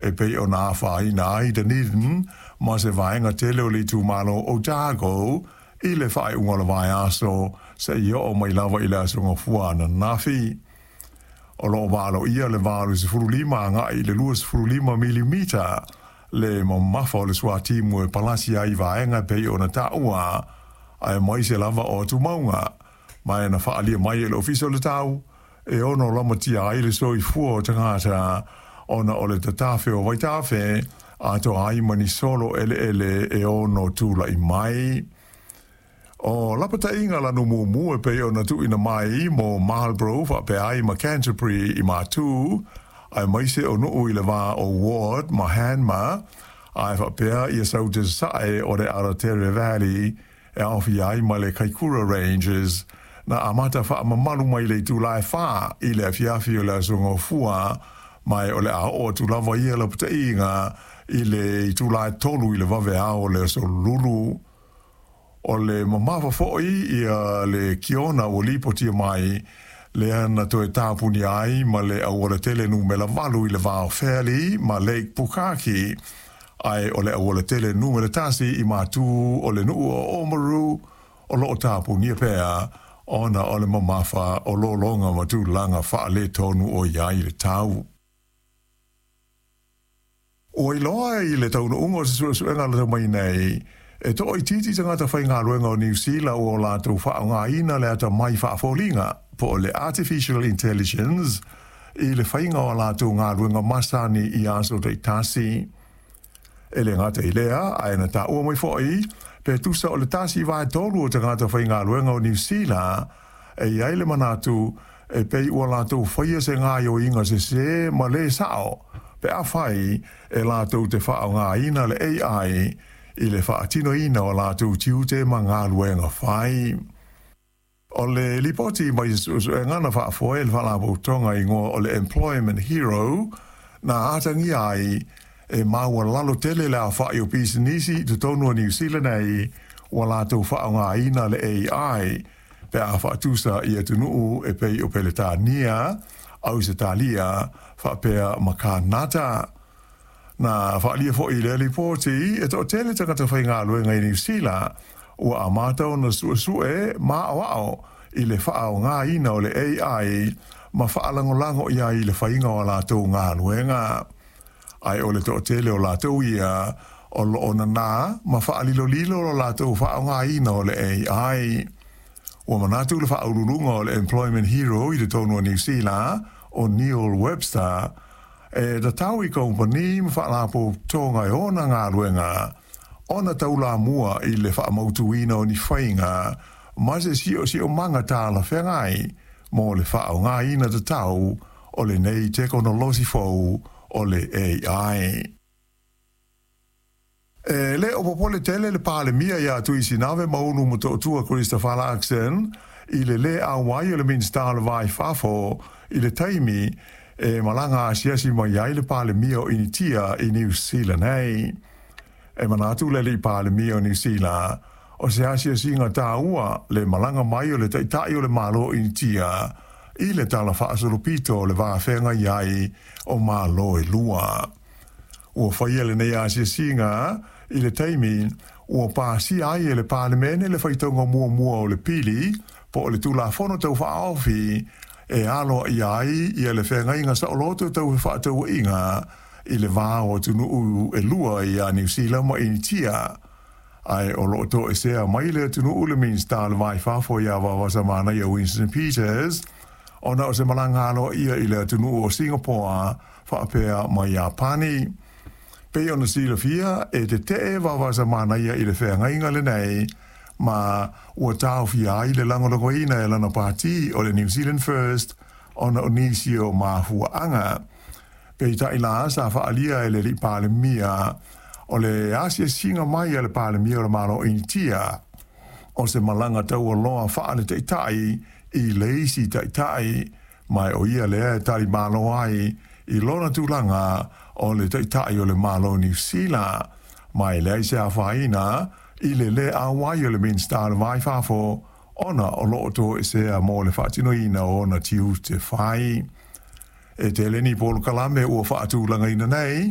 e pei ona afaina ai Dunedin ma se vaega tele o le itumalo o Otago i le faaiuga o le vaiaso seia oo mai lava i le Aso Gafua ananafi. O lo o valoia le 85 agai i le 25 milimita le mamafa o le suatimu e palasi ai vaega e pei ona taua, aemaise lava o atumauga, ma e na faaalia mai e le Ofisa o le Tau e ono lamatia ai le soifua o tagata ona o le tatafe o vaitafe atoa ai ma ni solo eleele e ono tulai mai. O lapataiga lanu mumu e pei ona tuuina mai mo Marlborough faapea ai ma Canterbury i Matu, aemaise o nuu i le va o Ward ma Hanmer, ae faapea ia Saute Sasae o le Aratere Valley e aofia ai ma le Kaikoura Ranges, na amata faamamalu mai le itula e 4 i le afiafi o le Aso Gafua, ma o le a oo atu lava ia lapataiga i le itula e 3 i le vaveao o le Aso Lulu. O le mamafa foi ia le kiona ua lipotia mai lea na toe tapunia ai ma le aualatele numera 8 i le va o Fairlie ma Lake Pukaki, ae o le aualatele numera 1 i Matu o le nuu o Oamaru o lo o tapunia pea ona o le mamafa o lologa ma tulaga faaletonu o i ai le tau. Ua iloa i le taunuuga o se suesuega na tau mai nei, e toaitiiti tagata faigaluega o Niu Sila ua latou faaaogaina le atamai faafoliga po o le artificial intelligence i le faiga o a latou galuega masani i aso taitasi. E le gata i lea, ae na taua mai foi pe tusa o le 1/3 o tagata faigaluega o Niu Sila e i ai le manatu e pei ua latou faia se gaoioiga sesē ma lē sao pe afai e latou te faaaogaina le AI i le faatinoina o latou tiute ma galuega fai. O le lipoti mai se suesuega na faafoe e le Faalapotopotoga i igoa o le Employment Hero na atagia ai e maualalo tele le aofai o pisinisi i totonu o Niu Sila nei ua latou faaaogaina le AI pe a faatusa i atunuu e pei o Peretania, Ausetalia faapea ma Kanata. Na faaalia foi i lea lipoti e toatele tagata faigaluega i Niu Sila ua amata ona suesue ma aoao i le faaaogaina o le AI ma faalagolago i ai i le faiga o a latou galuega. Ae o le toatele o latou ia o lo o nanā ma faalilolilo lo latou faaaogaina o le AI. Ua manatu le faauluuluga o le Employment Hero i totonu o Niu Sila, o Neil Webster, e tatau i kamupani ma faalapotopotoga e ona galuega ona taulamua i le faamautuina o ni faiga ma se siosiomaga talafeagai mo le faaaogaina tatau o lenei tekonolosi fou o le AI. E le o popole tele le Palemia ia Tuisinave Maunu Motootua Christopher Luxon i le lē auai o le Minisita o le Va i Fafo i le taimi e malaga asiasi mai ai le Palemia o Initia i Niu Sila nei. E manatu le alii Palemia o Niu Sila, o se asiasiga taua le malaga mai o le Taitai o le Malo o Initia i le tala faasolopito o le va feagai ai o Malo e lua. Ua faia lenei asiasiga i le taimi ua pasia ai e le Palemene le faitauga muamua o le pili po o le Tulafono Tau Faaofi e aloaia ai ia le feagaiga saoloto tau fefaatauaiga i le va o atunuu e lua ia Niu Sila ma Initia. Ae o lo o toesea mai le atunuu le Minisita o le Va i Fafo ia Vaovasamanaia Winston Peters ona o se malaga aloaia i le atunuu o Singapore faapea ma Iapani. Pei ona silafia, e tetee Vaovasamanaia i le feagaiga lenei ma ua taofia ai le lagolagoina e lana pati o le New Zealand First ona o nisi o mafuaaga. Peitai la, sa faaalia e le alii Palemia o le asiasiga mai a le Palemia o le Malo o Initia o se malaga taualoa faale-taitai i le isi taitai, ma o ia lea e talimalo ai i lona tulaga o le Taitai o le Malo o Niu Sila, ma e leai se afaina i le lē auai o le Minisita o le Va i Fafo ona o lo o toesea mo le faatinoina o ona tiute fai. E tele ni polokalame ua faatulagaina nei.